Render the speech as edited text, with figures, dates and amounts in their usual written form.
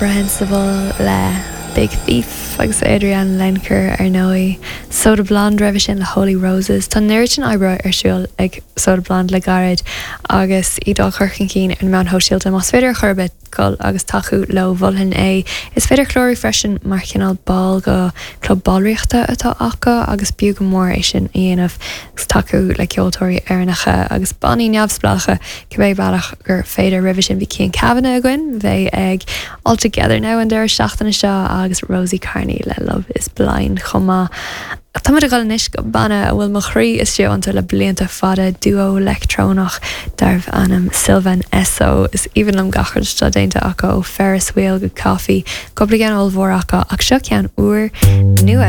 Reprehensible le Big Thief agus Adrianne Lenker ar ndóigh. Soda Blonde roimhe sin le Holy Roses. Tá an oiread sin oibre ar siúl ag Soda Blonde le gairid agus iad á chur chun cinn ar na meáin shóisialta. Más féidir ar chor ar bith dul agus tacú leo, mholfainn é. Is féidir clárú freisin mar chineál ball go club ballraíochta atá acu agus b'fhiú go mór é sin a dhéanamh agus tacú le ceoltóirí Éireannacha agus bannaí neamhspleácha cibé bealach gur féidir. Roimhe sin bhí Cian Kavanagh againn, a bheidh ag All Together Now an deireadh seachtaine seo agus Rosie Carney le Love is Blind chomh maith. Tá muid ag dul anois go banna a bhfuil mo chroí istigh iontu le blianta fada, duo leictreonach darbh ainm Sylvan Esso. Is aoibhinn liom gach rud atá déanta acu ó Ferris Wheel go Coffee, cúpla ceann ollmhór acu ach seo ceann úr nua.